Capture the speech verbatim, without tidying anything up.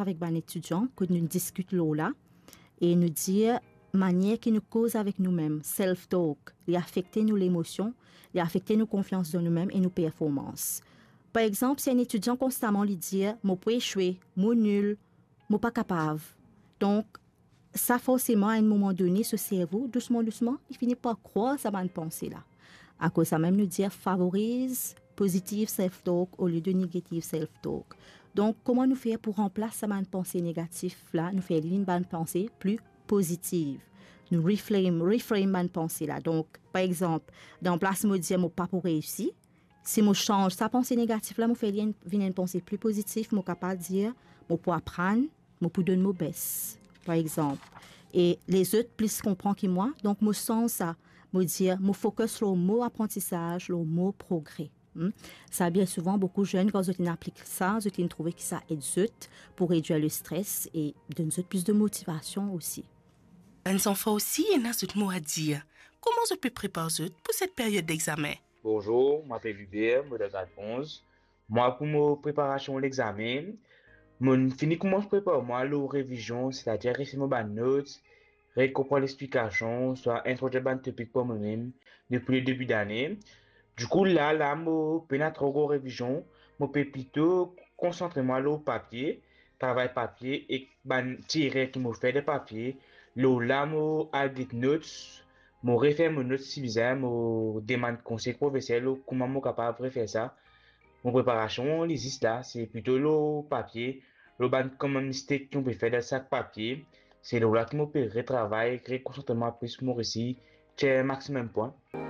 avek bann etidian kot nou diskit lor la e nou dir manier ki nou koz avek noumem, self talk, li afekte nou lemosion, li afekte nou konfians dan noumem e nou performans. Par exanp, si enn etidian konstaman li dir, "Mo pou eswe, mo nil, mo pa kapav." Donk, sa forseman, a enn moman done, so servo, dousman, dousman, li fini par krwar sa bann panse la. Akoz samem, nou dir favoriz pozitiv self-talk olie de negativ self-talk. Donk, kouma nou fer pou ranplas sa bann panse negatif la, nou fer li vinn bann panse pli pozitiv. Nou reframe, reframe bann panse la. Donk, par exanp, dan plas mo dir mo pa pou reisi, si mo sanz sa panse negatif la, mo fer li enn, vinn enn panse pli pozitif, mo kapav dir, mo pou aprann, mo pou donn mo bes, par exanp. E lezot plis konpran ki mwa, donk mo sanz sa, mo dir, mo fokis lor mo aprantisaz, lor mo progre. Hmm? Sa, bien souvan, boukou zenn, kan zot inn aplik sa, zot inn trouve ki sa ed zot pou redwir lestres e donn zot plis de motivasion osi. Bann zanfan osi ena zot mo a dir. Kouma zot pe prepar zot pou set period dexame? Bonzour, mo apel Hubert, mo dan grad onz. Mwa, pou mo preparasion lexame, mo fini koumans prepar mwa lor revizion, setadir refer mo bann not, rekonpran lexplikasion, swa introdwir bann topik par momem depi le debi dane. Dikou, la, la, mo pena tro gro revizion, mo pe plito konsantre mwa lor papie, travay papie ek bann ti erer ki mo fer dan papie. Lor la, mo al get notes, mo refer mo notes si bizin, mo demann konsey profeser lor kouma mo kapav refer sa. Mo preparasion, li zis la, se plito lor papie, lor bann koman mistek ki mo pe fer dan sak papie. Se lor la ki mo pe retravay, rekonsantre mwa plis pou mo resi tir maximum pwin.